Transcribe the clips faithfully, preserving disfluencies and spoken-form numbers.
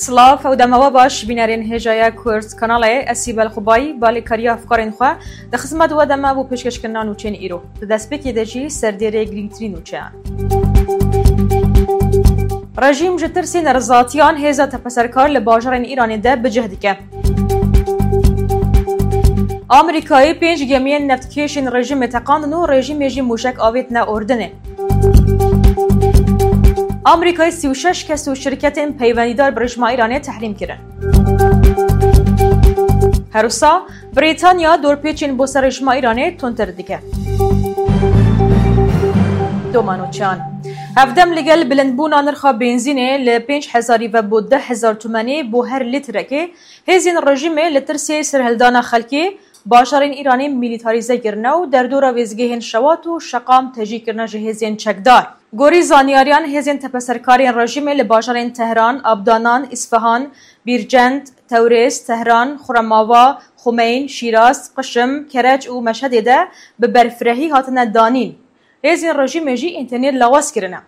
Silav û dema we baş, bînerên hêjaya Kurd Kanalê, ez Sîbel Xubayî, balêkariya hevkarên xwe di xizmet we de me bo pêşkêşkirina nûçeyên îro. Di destpêkê de jî serdêrê girîngtirîn nûçeyan. Rejîm ji tirsê nerizatiyan hêza tepeserkar li bajarên Îranê de bi cih dike. Amerîkayê pênc gemiyên neftkêşên rejîmê teqandin û rejîmê jî mûşek avêtine Urdinê. Amerîkayê sî û şeş kes û şirketên peywendîdar bi rejîma Îranê tehrîm kirin. Her wisa Brîtanya dorpêçên bo ser rejîma Îranê tundtir dike. Doma nûçeyan. Hevdem li gel bilindbûna nirxa benzînê li pênc hezarî ve bo deh hezar tumenê bo her lîtrekê, hêzên rejîmê li tirsê serhildana xelkê bajarên Îranê mîlîtarîze kirine û derdora wêzgehên Şewat û Şeqam tejî kirine ji hêzên çekdar. Gorî zanyariyan, hêzên tepeserkarên rejîmê li bajarên Tehran, Abdanan, Îsfahan, Bîrcend, Tewrêz, Tehran, Xuremava, Xumeyn, Şîraz, Qişim, Kereç û Meşhedê de bi berfirehî hatine danîn. Hêzên rejîmê jî înternêt lawaz kirine.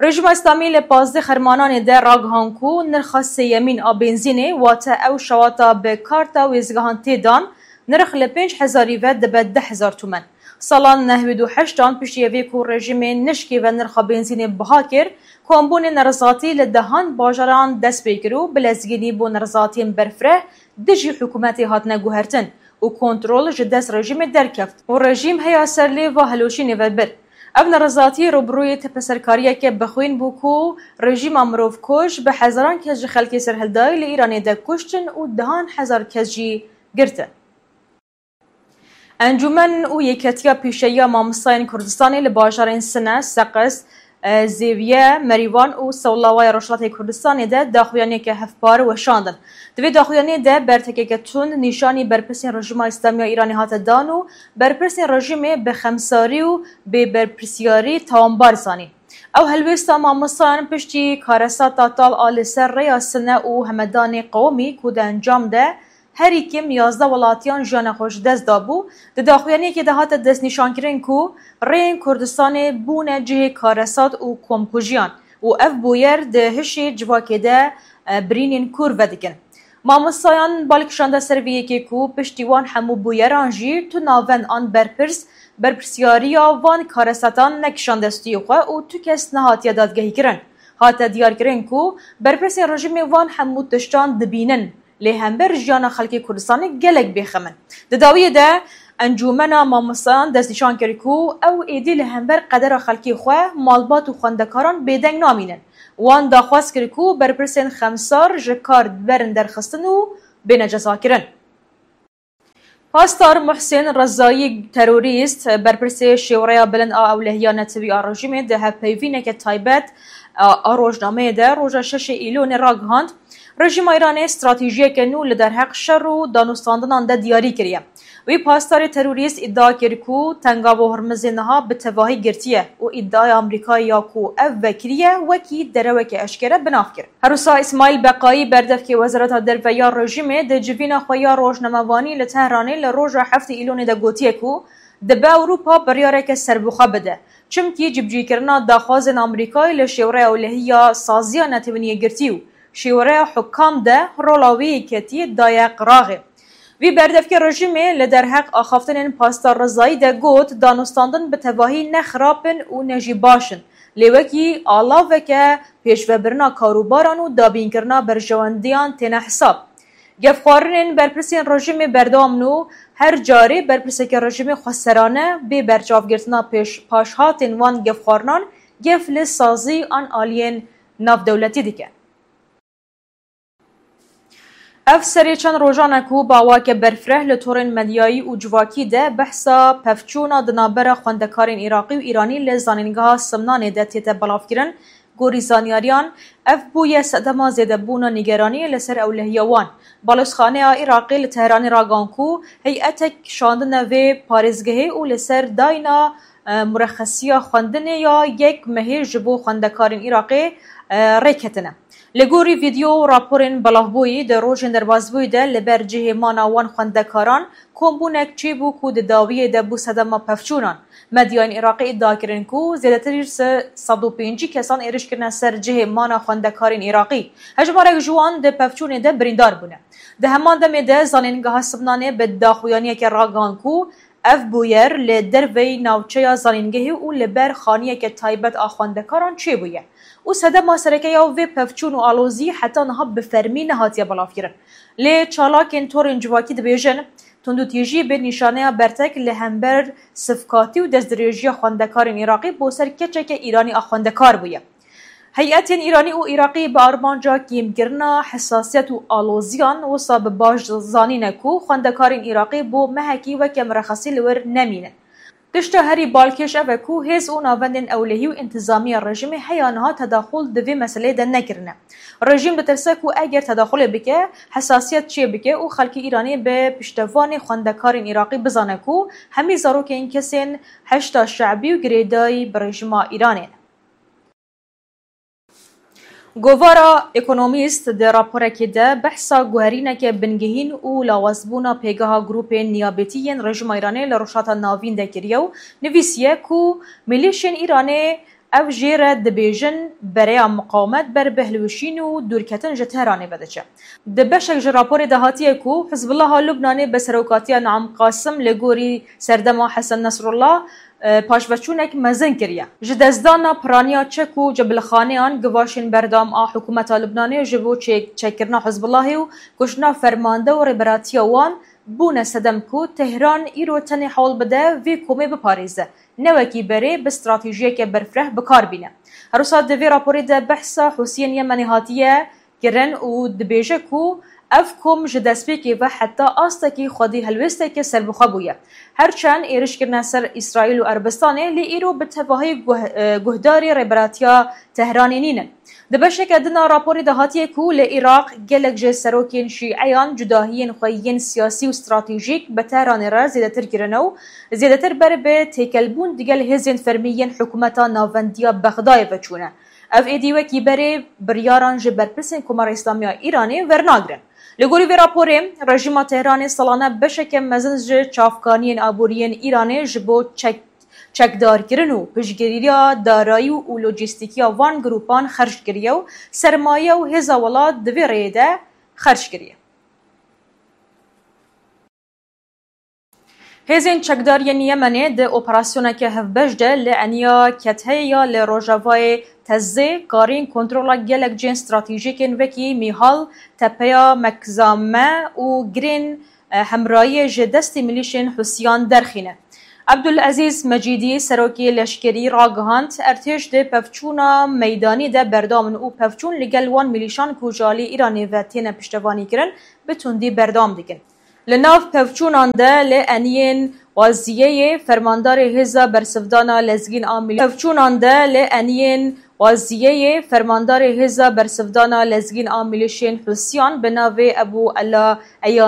Rejîma Îslamî li pazdeh Xermananê de ragihan ku nirxa sêyemîn a benzînê, wate ew şewata bi karta wêzgehan tê dan, nirx li pênc hezarî ve dibe deh hezar tumen. Sala nehwêd û heştan piştî evê ku rejîmê nişkê ve nirxa benzînê biha kir, kombûnên nerizatî li dehan bajaran dest pê kir û bi lezgînî bo nerizatiyên berfireh dijî hikûmetê hatine guhertin û kontrol ji dest rejîmê derkeft û rejîm heya ser lêva hilweşînê ve bir. Ev nerizatî rûbirûyê tepeserkariyeke bixwîn bû ku rejîma mirovkuj bi hezaran kes ji xelkê serhildayî li Îranê de kuştin û dehan hezar kes jî girtin. Encûmen û Yeketiya Pîşeyiya Mamostayên Kurdistanê li bajarên Sine, Seqez, e, Zêviye, Merîwan û Sewlawaya Rojhilatê Kurdistanê de daxuyaniyeke hevpar weşandin. Di vê daxuyaniyê de bertekeke tund nîşanî berpirsên rejîma Îslamî ya Îranê hate dan û berpirsên rejîmê bi xemsarî û bêberpirsyarî tawanbar zanîn. Ew helwêsta mamostayan piştî karesata tal a li ser rêya Sine û Hemedanê Qewimî ku di encam de herî kêm yazdeh welatiyan jiyana xwe ji dest dabû, di daxuyaniyekê de hate destnîşankirin ku rêyên Kurdistanê bûne cihê karesat û komkujiyan û ev bûyer di hişê civakê de, e, birînên kûr vedikin. Mamostayan bal kişande ser vê yekê ku piştî wan hemû bûyeran jî tu navend an berpirs berpirsyariya van karesatan nekişande stûyê xwe û tu kes nehatiye dadgehîkirin. Hate diyarkirin ku berpirsên rejîmê van hemû tiştan dibînin. Lê hember jiyana xelkê Kurdistanê gelek bêxem in. Di dawiyê de Encûmena Mamostayan destnîşan kir ku ew êdî li hember qedera xelkê xwe, malbat û xwendekaran bêdeng namînin. Wan daxwaz kir ku berpirsên xemsar ji kar biberin derxistin û bêne cezakirin. Pastor Muhsên Rezayî terorîst, berpirsê Şêwreya Bilind a Ewlehiya Netewî a rejîmê di hevpeyvîneke taybet a, a rojnameyê de roja şeşê Îlonê ragihand, rejîma Îranê stratejiyeke nû li derheq şer û danûstandinan de diyarî kiriye. Wî pastorê terorîst îdia kir ku Tengava Hormizê niha bi tevahî girtiye û îdiaya Amerîkayê ya ku ev vekiriye wekî dereweke eşkere bi nav kir. Her wisa Îsmaîl Beqayî, berdevkê Wezareta Derve ya rejîmê, di civîna xwe ya rojnamevanî li Tehranê li roja heftê Îlonê de gotiye ku dibe Ewropa biryareke serbixwe bide, çimkî cibicîkirina daxwazên Amerîkayê li Şêwreya Ewlehî ya Saziya Netewên Yekgirtî û Şêwreya Hukam de rola wê yeketiyê daye qiraxê. Vî berdevkê rejîmê li derheq axaftinên Pastor Rezayî de got, danûstandin bi tevahî ne xirab in û ne jî baş in, lê wekî alaveke pêşvebirina karûbaran û dabînkirina berjewendiyan têne hesab. Gefxwarinên berpirsên rejîmê berdewam in û her carê berpirseke rejîmê xweserane bê berçavgirtina pêş-, paşhatên wan gefxwarinan gef li sazî an aliyên navdewletî dike. Ev serê çend rojan e ku bi awayeke berfireh li torên medyayî û civakî de behsa pevçûna di navbera xwendekarên Iraqî û Îranî li Zanîngeha Simnanê de tête belavkirin. Gorî zanyariyan, ev bûye sedema zêdebûna nîgeraniyê li ser ewlehiya wan. Balozxaneya Iraqê li Tehranê ragihan ku heyetek şandine vê parêzgehê û li ser dayîna, e, murexesiya xwendinê ya yek mehê ji bo xwendekarên Iraqê, e, rê ketine. Li gorî vîdeo û raporên belavbûyî di rojên derbasbûyî de li ber cihê mana wan xwendekaran kombûnek çêbû ku di dawiyê de bû sedema pevçûnan. Medyayên Iraqî îdia kirin ku zêdetir se sed û pêncî kesan êriş kirine ser cihê mana xwendekarên Iraqî. Hejmarek ji wan di pevçûnê de birîndar bûne. Di heman demê de zanîngeha Sibnanê bi daxuyaniyekê ragihand ku ev bûyer li derveyî navçeya zanîngehê û li ber xaniyeke taybet a xwendekaran çêbûye û sedema sereke ya vê pevçûn û alozî heta niha bi fermî nehatiye belavkirin. Lê çalakên torên civakî dibêjin, tundûtîjî bi nîşaneya bertek li hember sivkatî û destdirêjiya xwendekarên Iraqî bo ser keçeke Îranî a xwendekar bûye. Heyetên Îranî û Iraqî bi armanca kêmkirina hesasiyet û aloziyan wisa bi baş zanîne ku xwendekarên Iraqî bo mehekî weke mirexesî li wir nemînin. Tişta herî balkêş ev e ku hêz û navendên ewlehî û întizamiya rejîmê heya niha tedaxul di vê meseleyê de nekirine. Rejîm ditirse ku eger tedaxulê bike, hesasiyet çêbike û xelkê Îranê bi piştevanê xwendekarên Iraqî bizane ku hemî zarokên kesên heşda şe'bî û girêdayî bi rejîma Îranê ne. Govara Economist di raporekê de behsa guherîneke bingehîn û lawazbûna pêgeha grûpên niyabetî yên rejîma Îranê li Rojhilata Navîn de kiriye û nivîsiye ku milîşên Îranê ev jê re dibêjin bereya miqawimet ber bi hilweşîn û dûrketin ji Tehranê ve diçe. Di beşek ji raporê de hatiye ku Hizbullaha Lubnanê bi serokatiya Naim Qasim li gorî serdema Hesen Nesrullah, e, paşveçûnek mezin kiriye. Ji destdana piraniya çek û cebilxaneyan, givaşên berdewam a hikûmeta Lubnanê ji bo çê-, çekkirina Hizbullahê û kuştina fermande û rêberatiya wan bûne sedem ku Tehran îro tenê hewl bide vê komê biparêze, ne wekî berê bi stratejiyeke berfireh bi kar bîne. Her wisa di vê raporê de behsa Hûsiyên Yemenê hatiye kirin û dibêje ku ev kom ji destpêkê ve heta astekî xwedî helwêsteke serbixwe bûye. Her çend êriş kirine ser Îsraîl û Erebistanê, lê îro bi tevahî guh-, e, guhdarî rêberatiya Tehranê nînin. Di beşeke din a raporê de hatiye ku li Iraq gelek ji serokên şîeyan cudahiyên xwe yên siyasî û stratejîk bi Tehranê re zêdetir kirine û zêdetir ber bi têkelbûn digel hêzên fermî yên hikûmeta navendiya Bexdayê ve çûne. Ev êdî wekî berê biryaran ji berpirsên Komara Îslamiya Îranê wernagirin. Li gorî vê raporê, rejîma Tehranê salane beşeke mezin ji çavkaniyên aboriyên Îranê ji bo çek-, çekdarkirin û piştgiriya darayî û lojîstîkiya van grûpan xerc kiriye û sermaye û hêza welat di vê rêyê de xerc kiriye. Hêzên çekdar yên Yemenê di operasyoneke hevbeş de li eniya Ketheyê ya li rojavayê Tezzê karîn kontrola gelek cihên stratejîkên wekî Mîhal, Tepeya Mekzame û girên, e, hemrayiyê ji destê milîşên Hûsiyan derxîne. Ebdulezîz Mecîdî, serokê leşkerî, ragihand, ertêş di pevçûna meydanî de berdewam in û pevçûn li gel wan milîşan ku ji alî Îranê ve têne piştevanîkirin, bi tundî berdewam dikin. Li nav pevçûnan de li eniyên Waziyeyê fermandarê Hêza Bersivdana Lezgîn a Milî-, pevçûnan de li eniyên Waziyeyê fermandarê Hêza Bersivdana Lezgîn a Milîşên Hûsiyan bi navê Ebû Ela Eya